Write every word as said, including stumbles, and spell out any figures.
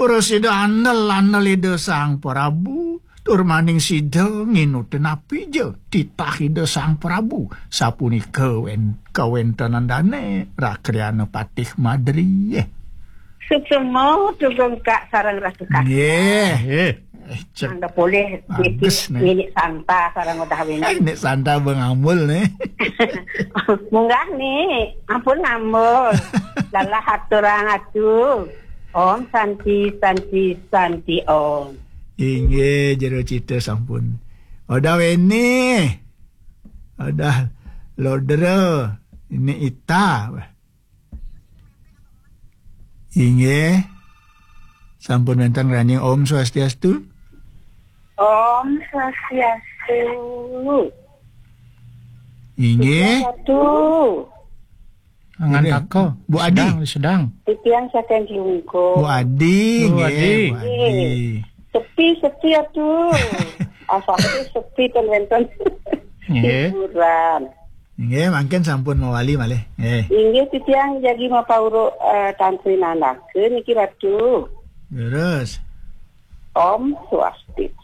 Prasida andel-andel Ida Sang Prabu, tur maning sida nginutin napi ja titah Ida Sang Prabu, sapunika wen-, kawentenan dane Rakriana Patih Madri. Eh. Suksma Tugong Kak sareng Ratu Kak. Nggih. Nggih. Eh, cek. Mangda polih bagus, niki nih. Nini Santa sareng Udah Wingi. Eh, Nik Santa bengambul nih. Munggah nih, ampun ngambul. Lalah aturang atu. Om Santi, Santi, Santi Om. Inggih, jero cita sampun. Odah Weni. Odah Lodra. Ini Ita. Inggih. Sampun wenten raning Om Swastiastu. Om Swastiastu. Inggih. Satu. Angan Inggih. Tako. Bu Adi. Sedang, sedang. Titiang saking Klungkung. Bu Adi, Bu nggih, Adi. Bu Adi. Sepi, sepi atuh. Asal sepi ten wenten. Nggih. Hiburan. Nggih, mangkin sampun mawali malih. Nggih. Inggih titiang jagi mapauruk, eh, tantri nandakeun niki Ratu. Leres. Om Swastiastu.